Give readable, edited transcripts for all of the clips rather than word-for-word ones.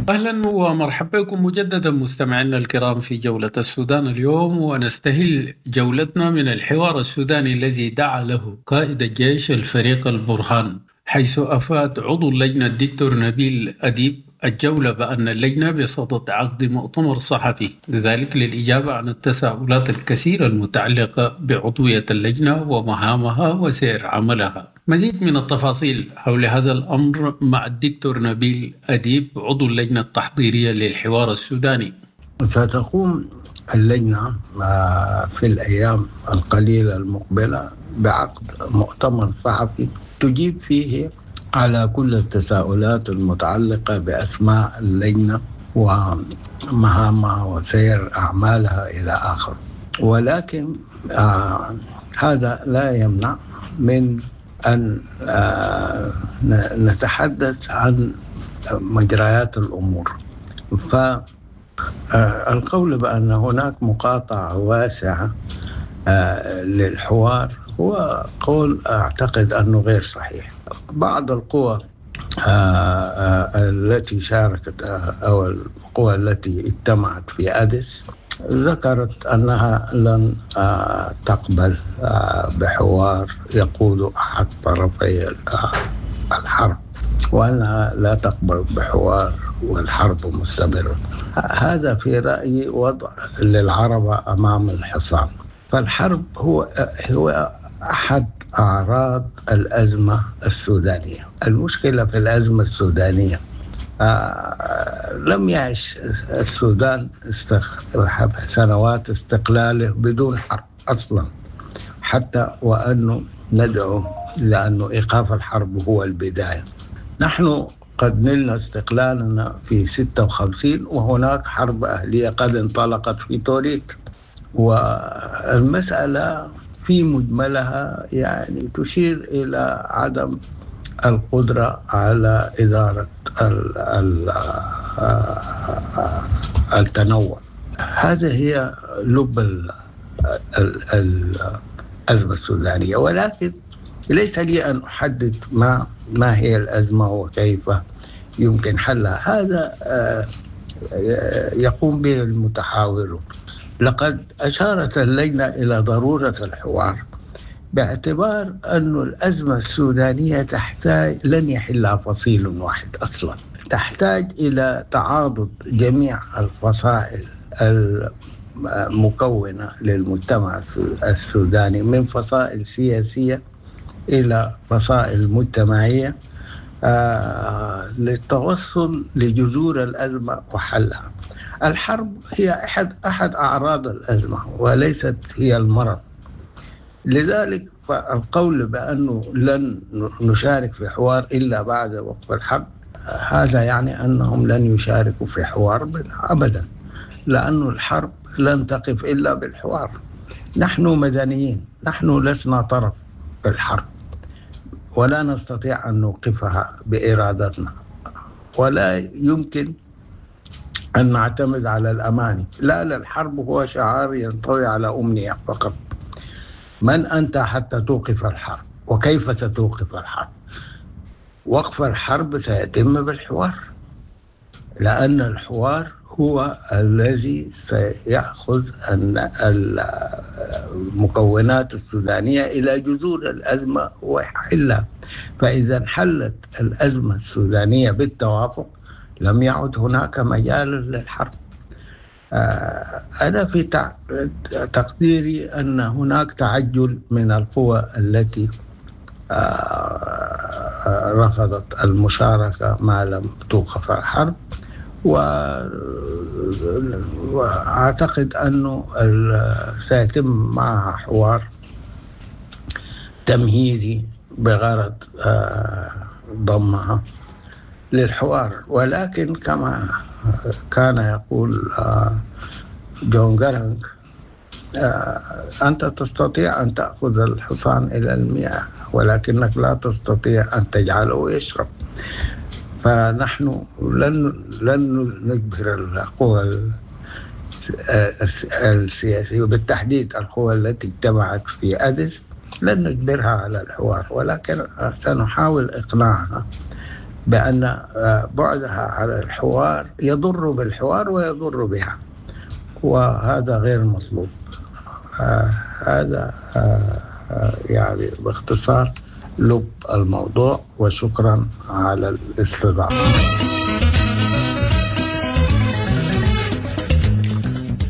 اهلا ومرحبا بكم مجددا مستمعينا الكرام في جولة السودان اليوم، ونستهل جولتنا من الحوار السوداني الذي دعا له قائد الجيش الفريق البرهان، حيث افاد عضو اللجنة الدكتور نبيل اديب الجولة بأن اللجنة بصدد عقد مؤتمر صحفي، ذلك للإجابة عن التساؤلات الكثيرة المتعلقة بعضوية اللجنة ومهامها وسير عملها. مزيد من التفاصيل حول هذا الأمر مع الدكتور نبيل أديب عضو اللجنة التحضيرية للحوار السوداني. ستقوم اللجنة في الأيام القليلة المقبلة بعقد مؤتمر صحفي تجيب فيه على كل التساؤلات المتعلقة بأسماء اللجنة ومهامها وسير أعمالها إلى آخره، ولكن هذا لا يمنع من أن نتحدث عن مجريات الأمور. فالقول بأن هناك مقاطعة واسعة للحوار هو قول أعتقد أنه غير صحيح. بعض القوى التي شاركت أو القوى التي اجتمعت في أديس ذكرت أنها لن تقبل بحوار يقود أحد طرفي الحرب، وأنها لا تقبل بحوار والحرب مستمرة. هذا في رأيي وضع للعربة أمام الحصان. فالحرب هو أحد أعراض الأزمة السودانية. المشكلة في الأزمة السودانية لم يعش السودان سنوات استقلاله بدون حرب أصلا، حتى وأنه ندعو لأنه إيقاف الحرب هو البداية. نحن قد نلنا استقلالنا في 56 وهناك حرب أهلية قد انطلقت في توريت، والمسألة في مجملها يعني تشير إلى عدم القدرة على إدارة التنوع. هذا هي لب الأزمة السودانية، ولكن ليس لي أن أحدد ما هي الأزمة وكيف يمكن حلها. هذا يقوم به المتحاورون. لقد أشارت اللجنة إلى ضرورة الحوار باعتبار أن الأزمة السودانية تحتاج، لن يحلها فصيل واحد أصلا، تحتاج إلى تعاضد جميع الفصائل المكونة للمجتمع السوداني من فصائل سياسية إلى فصائل مجتمعية للتوصل لجذور الأزمة وحلها. الحرب هي أحد أعراض الأزمة وليست هي المرض. لذلك فالقول بأنه لن نشارك في حوار إلا بعد وقف الحرب، هذا يعني أنهم لن يشاركوا في حوار أبدا، لأن الحرب لن تقف إلا بالحوار. نحن مدنيين، نحن لسنا طرف في الحرب ولا نستطيع أن نوقفها بإرادتنا، ولا يمكن أن نعتمد على الأماني. لا للحرب هو شعار ينطوي على أمنية فقط. من أنت حتى توقف الحرب؟ وكيف ستوقف الحرب؟ وقف الحرب سيتم بالحوار، لأن الحوار هو الذي سيأخذ المكونات السودانية إلى جذور الأزمة ويحلها. فإذا انحلت الأزمة السودانية بالتوافق لم يعد هناك مجال للحرب. أنا في تقديري أن هناك تعجل من القوى التي رفضت المشاركة ما لم توقف الحرب، وأعتقد أنه سيتم معها حوار تمهيدي بغرض ضمها للحوار. ولكن كما كان يقول جون جارانج، أنت تستطيع أن تأخذ الحصان إلى المياه ولكنك لا تستطيع أن تجعله يشرب. فنحن لن نجبر القوى السياسية، وبالتحديد القوى التي اجتمعت في أديس، لن نجبرها على الحوار، ولكن سنحاول إقناعها بأن بعدها على الحوار يضر بالحوار ويضر بها، وهذا غير مطلوب. هذا يعني باختصار لب الموضوع، وشكرا على الاستضافة.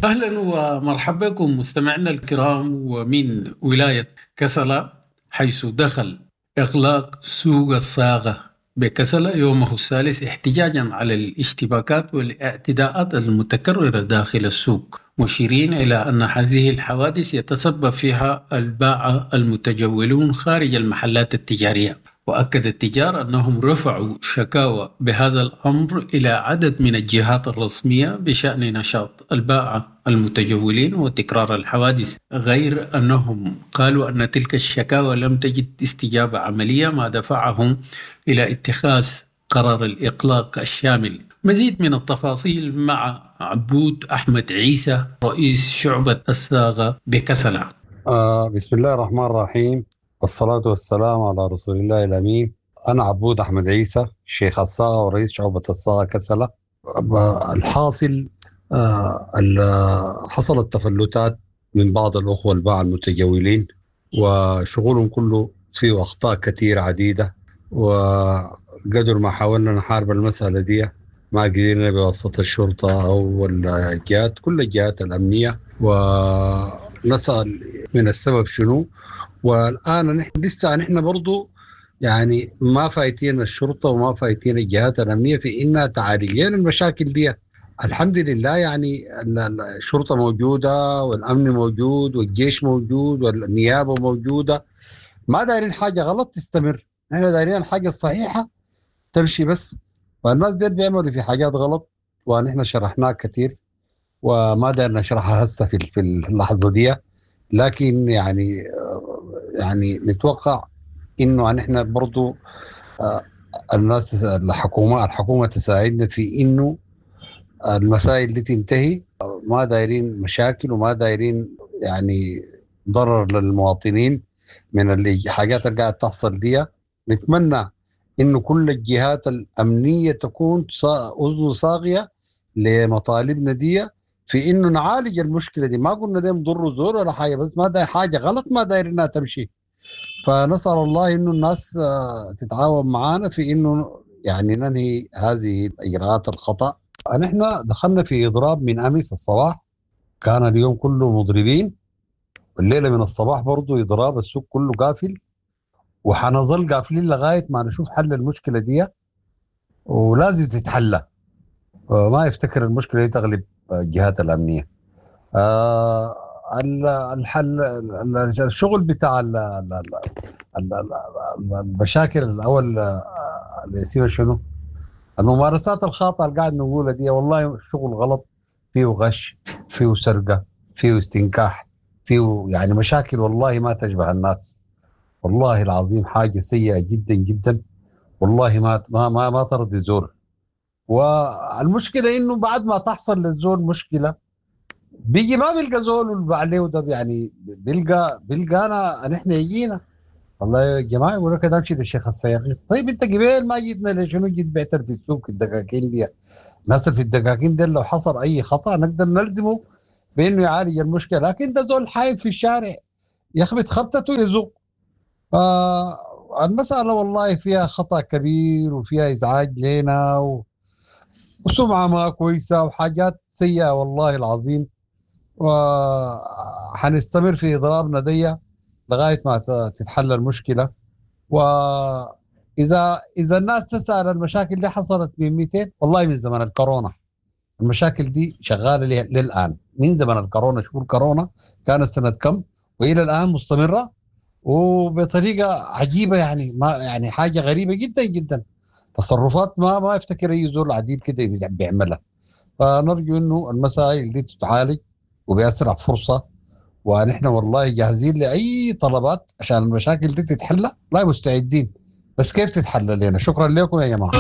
أهلا ومرحبا بكم مستمعينا الكرام، ومن ولاية كسلا حيث دخل إغلاق سوق الصاغة بكسلا يومه الثالث احتجاجا على الاشتباكات والاعتداءات المتكررة داخل السوق، مشيرين إلى أن هذه الحوادث يتسبب فيها الباعة المتجولون خارج المحلات التجارية. وأكد التجار أنهم رفعوا شكاوى بهذا الأمر إلى عدد من الجهات الرسمية بشأن نشاط الباعة المتجولين وتكرار الحوادث، غير أنهم قالوا أن تلك الشكاوى لم تجد استجابة عملية، ما دفعهم إلى اتخاذ قرار الإغلاق الشامل. مزيد من التفاصيل مع عبود أحمد عيسى رئيس شعبة الصاغة بكسلة. بسم الله الرحمن الرحيم، والصلاة والسلام على رسول الله الأمين. أنا عبود أحمد عيسى شيخ الصاغة ورئيس شعبة الصاغة كسلة. الحاصل حصلت تفلتات من بعض الأخوة الباعة المتجولين، وشغلهم كله فيه أخطاء كثيرة عديدة، وقدر ما حاولنا نحارب المسألة دي ما قدرنا بواسطة الشرطة أو الجهات، كل الجهات الأمنية، ونسأل من السبب شنو. والآن نحن لسه نحن برضو يعني ما فايتين الشرطة وما فايتين الجهات الأمنية في إنها تعالج لنا المشاكل دي. الحمد لله يعني الشرطة موجودة والأمن موجود والجيش موجود والنيابة موجودة، ما دايرين حاجة غلط تستمر، نحن دايرين الحاجة الصحيحة تمشي بس. والناس دي بيعملوا في حاجات غلط ونحن شرحناها كثير وما داير نشرحها هسه في اللحظة دي، لكن يعني نتوقع انه نحن برضو الناس الحكومة تساعدنا في انه المسائل دي تنتهي. ما دايرين مشاكل وما دايرين يعني ضرر للمواطنين من الحاجات اللي قاعد تحصل دي. نتمنى انه كل الجهات الامنية تكون اذن صاغيه لمطالبنا دي في انه نعالج المشكلة دي. ما قلنا لهم ضروا زور ولا حاجة، بس ما داير حاجة غلط ما داير انها تمشي. فنسال الله انه الناس تتعاون معانا في انه يعني ننهي هذه الاجراءات الخطا. نحن دخلنا في اضراب من امس الصباح، كان اليوم كله مضربين، والليلة من الصباح برضو اضراب، السوق كله قافل، وحنظل قافلين لغاية ما نشوف حل المشكلة دي، ولازم تتحلى. ما يفتكر المشكلة دي تغلب الجهات الامنية. الحل الشغل بتاع المشاكل الاول اللي يصير شنو؟ الممارسات الخاطئة اللي قاعد نقولها دي، والله شغل غلط، فيه غش، فيه سرقه، فيه استنكاح، فيه يعني مشاكل والله ما تشبه الناس. والله العظيم حاجة سيئه جدا جدا، والله ما ما ما, ما ترضي زول. والمشكلة انه بعد ما تحصل للزول مشكلة بيجي ما بيلقى زول اللي عليه ده، يعني بيلقى انا نحن يجينا والله يا جماعة يقول لك امشي للشيخ السياقي. طيب انت قبل ما جيتنا ليش شنو جيت بعت في السوق الدكاكين دي؟ الناس في الدكاكين دي لو حصل اي خطا نقدر نلزمه بانه يعالج المشكلة، لكن ده زول حايم في الشارع يخبط خبطته يزق. فالمسالة والله فيها خطا كبير وفيها ازعاج لنا وسمعه ما كويسة وحاجات سيئه والله العظيم. وحنستمر في اضرابنا دي لغاية ما تتحل المشكلة. واذا الناس تسال المشاكل اللي حصلت من 200، والله من زمن الكورونا المشاكل دي شغالة للان، من زمن الكورونا. شهور كورونا كانت سنة كم والى الان مستمرة وبطريقة عجيبة، يعني ما يعني حاجة غريبة جدا جدا، تصرفات ما يفتكر اي زول عديل كده بيعملها. فنرجو انه المسائل دي تتعالج وباسرع فرصة، ونحن والله جاهزين لاي طلبات عشان المشاكل دي تتحلى، لا مستعدين، بس كيف تتحلى لنا؟ شكرا لكم يا جماعة.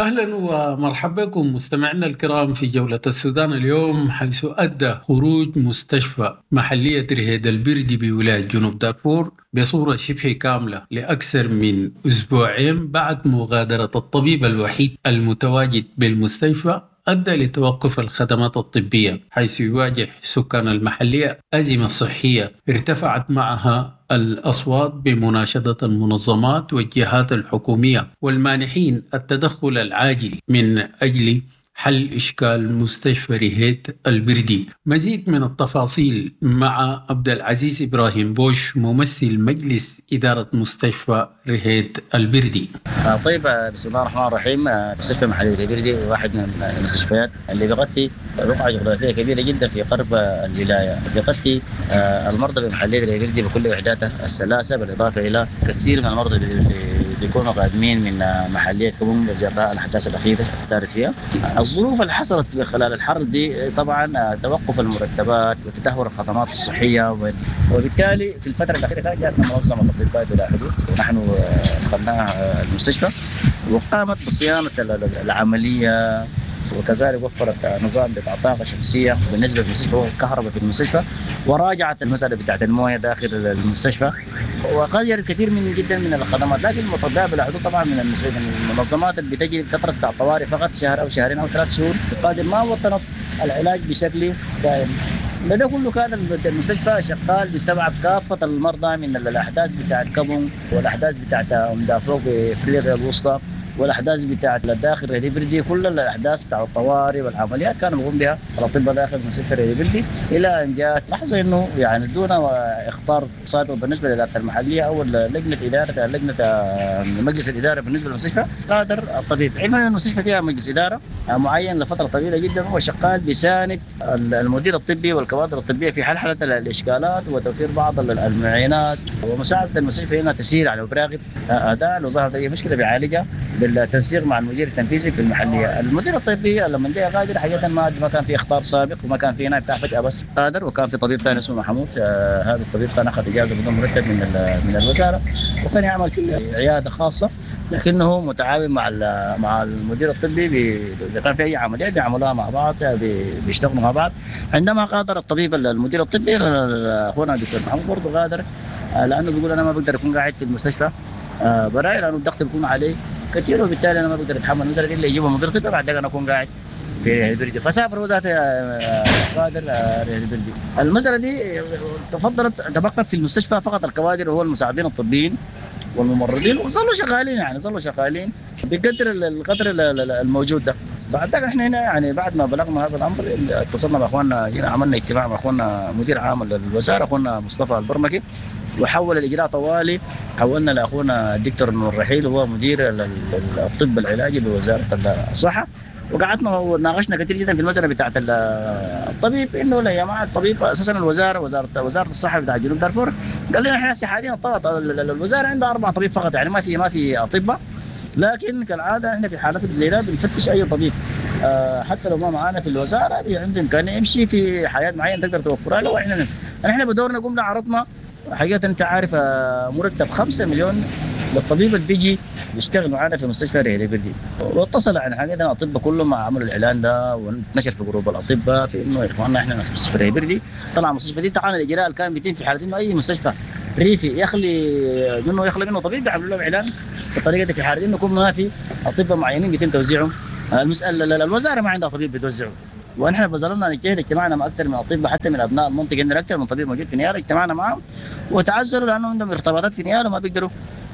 اهلا ومرحبا بكم مستمعينا الكرام في جولة السودان اليوم، حيث ادى خروج مستشفى محلية رهيد البردي بولاية جنوب دارفور بصورة شبه كاملة لأكثر من أسبوعين بعد مغادرة الطبيب الوحيد المتواجد بالمستشفى أدى لتوقف الخدمات الطبية، حيث يواجه سكان المحلية أزمة صحية ارتفعت معها الأصوات بمناشدة المنظمات والجهات الحكومية والمانحين التدخل العاجل من أجل حل إشكال مستشفى رهيد البردي. مزيد من التفاصيل مع عبد العزيز إبراهيم بوش، ممثل مجلس إدارة مستشفى رهيد البردي. طيب، بسم الله الرحمن الرحيم. مستشفى محلية البردي واحد من المستشفيات اللي بيغطي رقعة جغرافية كبيرة جدا في غرب الولاية، بيغطي المرضى بمحلية البردي بكل وحداتها الثلاثة، بالإضافة إلى كثير من المرضى اللي بيكونوا قادمين من محلية كوم جراء الأحداث الأخيرة دارت فيها. الظروف اللي حصلت خلال الحرب دي طبعا توقف المرتبات وتدهور الخدمات الصحية، وبالتالي في الفترة الأخيرة كانت جاتنا منظمة أطباء بلا حدود، ونحن دخلناها المستشفى وقامت بصيانة العملية، وكذلك وفرت نظام بتاع طاقة شمسية بالنسبة للمستشفى والكهرباء في المستشفى، وراجعت المسألة بتاعت الموية داخل المستشفى، وغيرت كثير من جدا من الخدمات. لكن الأطباء بلا حدود طبعا من المنظمات اللي بتجري فترة بتاع طوارئ فقط شهر أو شهرين أو 3 شهور، قادر ما وطنت العلاج بشكل دائم. ده كله كان المستشفى شغال بيستوعب كافة المرضى من الأحداث بتاعت كابون والأحداث بتاعت أم دافوق بإفريقيا الوسطى والأحداث بتاعت الداخل رهيد بردي، كل الأحداث بتاع الطوارئ والعمليات كانوا بيقوم بها الأطباء داخل مستشفى رهيد بردي، إلى أن جاءت لحظة إنه يعني دون إخطار سابق بالنسبة للإدارة المحلية أو لجنة إدارة لجنة مجلس الإدارة بالنسبة للمستشفى، غادر الطبيب. علما أن المستشفى فيها مجلس إدارة معين لفترة طويلة جدا، هو شغال بيساند المدير الطبي والكوادر الطبية في حل الإشكالات وتوفير بعض المعينات ومساعدة المستشفى هنا تسير على وبراغب أداء. لو ظهرت أي مشكلة بيعالجها بالتنسيق مع المدير التنفيذي في المحلية. المدير الطبي لما جاء غادر حقيقة ما كان في اخطار سابق وما كان في هنا بتاع فجاة بس غادر، وكان في طبيب ثاني اسمه محمود، هذا الطبيب كان اخذ اجازه بدون مرتب من الوزارة، وكان يعمل في عيادة خاصة، لكنه متعاون مع المدير الطبي اذا كان في اي عملية بيعملوها مع بعض، بيشتغلوا مع بعض. عندما غادر الطبيب المدير الطبي اخونا الدكتور محمود برضه غادر، لانه بيقول انا ما بقدر اكون قاعد في المستشفى براي، لانه الضغط بيكون عليه كثير، وبالتالي انا ما بقدر اتحمل نزلت الا يجيبوا مدير طبي بعد انا اكون قاعد في البردي. فسافر وزارة غادر البردي. المسالة دي تفضلت تبقى في المستشفى فقط الكوادر وهو المساعدين الطبيين والممرضين، وظلوا شغالين يعني ظلوا شغالين بقدر القدر الموجود ده. بعد ذلك احنا هنا يعني بعد ما بلغنا هذا الامر اتصلنا باخواننا، جينا عملنا اجتماع مع اخواننا مدير عام الوزارة اخونا مصطفى البرمكي، وحول الاجراء طوالي حولنا لاخونا الدكتور نور الرحيل هو مدير الطب العلاجي بوزارة الصحة، وقعدنا وناقشنا كثير جدا في المسالة بتاعت الطبيب، انه لا يا جماعة الطبيب اساسا الوزارة وزارة الصحة بتاع جنوب دارفور قال لنا احنا حاليا الوزارة عندها 4 طبيب فقط، يعني ما في اطباء، لكن كالعادة احنا في حالات زي ده بنفتش اي طبيب حتى لو ما معانا في الوزارة عنده امكانية يمشي في حياة معينة تقدر توفرها له. احنا بدورنا قمنا عرضنا حقيقة انت عارف مرتب 5 مليون للطبيب اللي بيجي بيشتغل معانا في مستشفى رهيد بردي، واتصل عن حقيقة الاطباء كلهم عملوا الاعلان ده ونشر في group الاطباء في انه يا اخواننا احنا ناس مستشفى رهيد بردي، طلع المستشفى دي تعال الاجراء اللي كان بيتم في حاله انه اي مستشفى ريفي يخلي منه طبيب بيعملوا لهم اعلان بالطريقة دي في حاله انه يكون ما في اطباء معينين بيتم توزيعهم. المسالة الوزارة ما عندها طبيب بتوزعه، ونحن بذلنا نجتهد اجتماعنا مع اكثر من اطباء حتى من ابناء المنطقة، عندنا اكثر من طبيب موجود في نيالا اجتمعنا معهم وتعذروا لانه عندهم ارتباطات في نيالا وما بيقدروا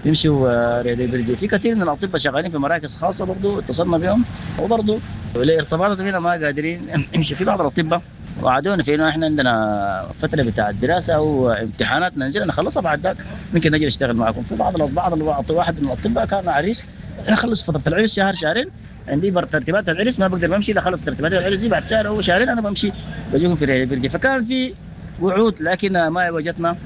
يمشوا رهيد بردي. في كثير من الاطباء شغالين في مراكز خاصة برضه اتصلنا بهم وبرضه لارتباطات هنا ما قادرين يمشوا. في بعض الاطباء وعدونا في انه احنا عندنا فترة بتاع الدراسة او امتحانات ننزل نخلصها بعد ذاك ممكن نجي نشتغل معكم. في بعض واحد من الاطباء كان عريس، اخلص فترة العرس شهر شهرين عندي ترتيبات العرس ما بقدر بمشي الا خلص ترتيبات العرس دي بعد شهر او شهرين انا بمشي بجيكم في رهيد بردي. فكان في وعود لكن ما وجدنا